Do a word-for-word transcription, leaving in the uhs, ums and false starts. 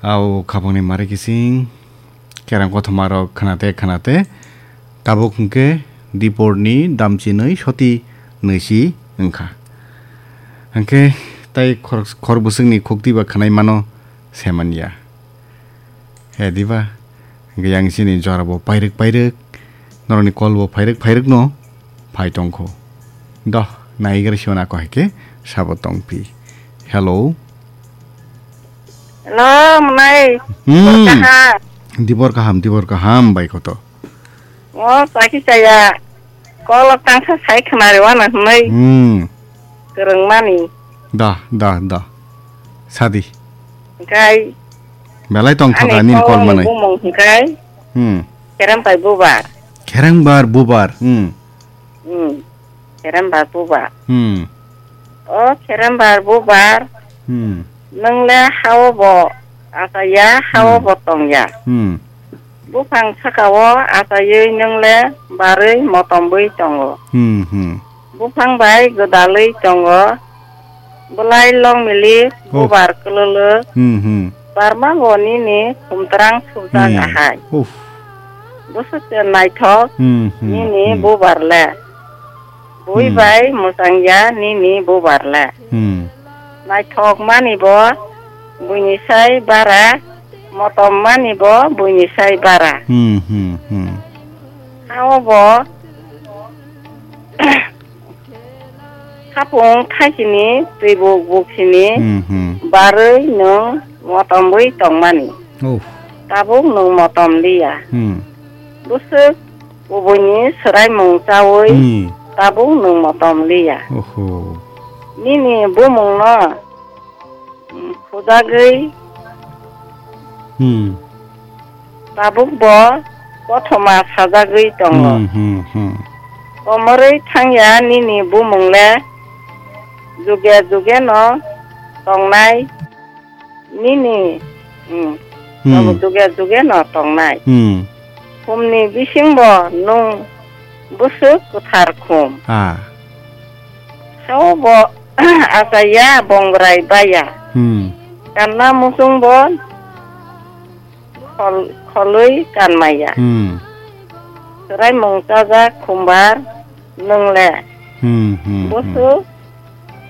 Au khapangni mari kising, kerang kothoma rok khnate khnate, tabuk hwnkhe diporni damchinwi soti nwisi wngkha. Hwnkhe tai khor-, khor bwswkni khukti ba khwnai mano se manya. He diba? Hwnkhe yang chini jora bo pairwk pairwk, norokni kol bo phairwk phairwk no phai tongkho. Doh, naigra siwana ko hai khe sabo tongphi. Hello. Hello, mwnai. Hmm. Dibor kaham. Dibor kaham, dibor kaham, bai koto. O, chaki chaya. Kolok tangsa sai khna rewana hwnwi. Hmm. Kwrwngmani. Da, da, da. Sadi. Hwnkhe. Belai tongthoka ani nini kol kolni manwi. Bumung hwnkhe. Hmm. Kerembai bubar. Kerembar bubar. Hmm. Hmm. Kerembar bubar. Hmm. O kerembar bubar. Hmm. Nwng le hao bo achaiya, hao Hmm. bo tongya. Hmm. Buphang saka-o achaiwi nwng le barwi motomwi tongo. Hmm, hmm. Buphang bai gwdalwi tongo. Bwlai long milik, Oh. bubar kwlwlwk. Hmm, hmm. Barma bo nini khumtrang subjak Hmm. ahai. Uff. Bwswk se naithok Hmm, hmm, nini hmm. bubar le. Bui Hmm. bai mwchangya nini bubar le. Hmm. Naithok mani bo buini sai bara, motom mani bo buini sai bara. Hmm, hmm, hmm. Hao bo khapung thaisini, twibuk buksini Hmm, hmm. barwi nwng motomwi tongmani. Oh. Tabuk nwng motom liya. Hmm. Bwswk kubuini swraimung chawi Hmm. tabuk nwng motom liya. Oho. Nini bumungno, mm, khujagwi Hmm. tabuk bo kothoma sajagwi tongo. Hmm, hmm, hmm. Komorwi thangya nini bumung le juge juge no tongnai. Nini, hmm, Hmm. abo juge juge no tongnai. Hmm. Khumni bisingbo nwng bwswk kwthar khum. Ah. Hao bo achaiya bongrai baya. Hmm. Kanna muchung bo khol-, kholwi kanmaya. Hmm. Swraimung chajak khumbar nwng le. Hmm, hmm, hmm. Bwswk